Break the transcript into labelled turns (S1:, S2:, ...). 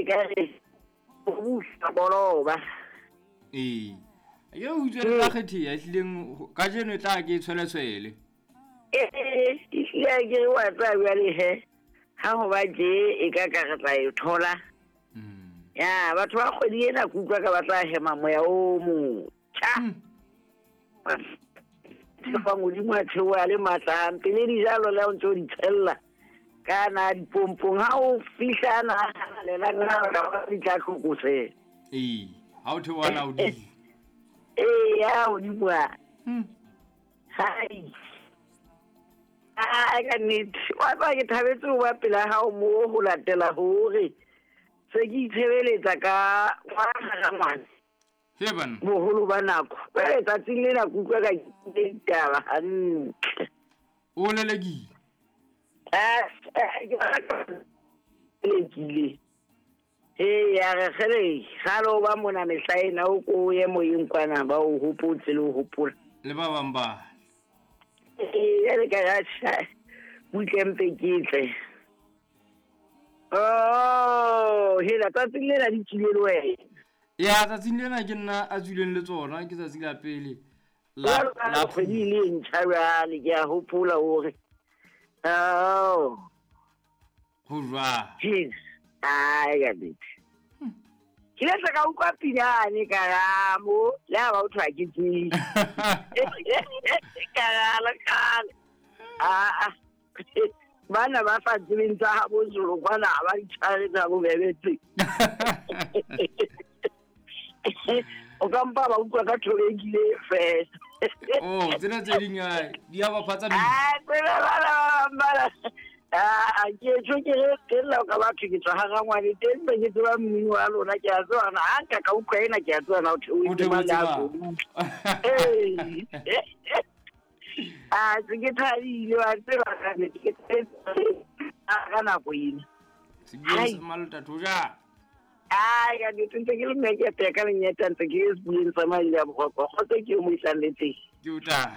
S1: ka re o busa boloba.
S2: Ee. Ke o utswele ka kgetheha ehlileng kajeno e tla ke tshweleswele.
S1: Ee, ehlile ke re wa tseba jwale he. Ha ho ba tje e ka ka re tla e thola. Ya, batho ba kgwedi ena ke utlwa ka ba tla hema moya o motjha. Fa Modimo a theoha le matla hampe le dijalo le ha o ntse o di tshella ka na dipompong ha o fihla na halalela na di tla tlokosela.
S2: Ee, ha o theoha na hodimo.
S1: Ee, ya hodimo a. Hai. Ai ka nnete. Wa tseba ke thabetse ho ba pela hao mo ho latela hore se ke itshebeletsa ka ngwana ngwana.
S2: He banna.
S1: Boholo ba nako. Jwale tsatsing lena ke utlwa ka ke ditaba hantle.
S2: O lelekile.
S1: Ke lelekile. Ee, ya re kgele kgale o ba mona mehla ena o ko ye moyeng kwana ba o hopotse le o hopola.
S2: Le ba bang ba.
S1: Ee, jwale ka re atjha butle mpe ke tle. Oh, hela tsatsing lena di tswile le wena.
S2: Ya tsatsing lena ke nna a tswileng le tsona ke tsatsi la pele. La
S1: la kgwedi le ntjha jwale ke a hopola hore. Oh.
S2: Ho jwang?
S1: Jeez. Ai ka nnete. Ke ile ka utlwa pinane ka ramo le ha ba o thwa ke tsebe. Ka rala kgale. Ah. Bana ba sa tsebeng tsa habo Zulu kwana ha ba di tshware tsa bobebe tse. O ka mpa ba utlwa ka thobekile fela.
S2: Oh, tsena tse ding di a ba phatsa.
S1: Ah, tsena bana. Ah, ke tjho ke re ke lla ka batho ke tswa ha rangwane teng be ke tseba mmino wa lona ke a tseba na ha nka ka utlwa ena ke a tseba na o theohetse mang le a Ee. Ah, se ke thabile wa tseba ka nnete ke thabetse ka nako ena.
S2: Sebeng sa malota thoja.
S1: Ai, ka nnete ntse ke le mmeke ya ka lenyeta ntse ke sebeng sa madi a boroko. Kgotso ke yo mo isang le teng.
S2: Ke o tla.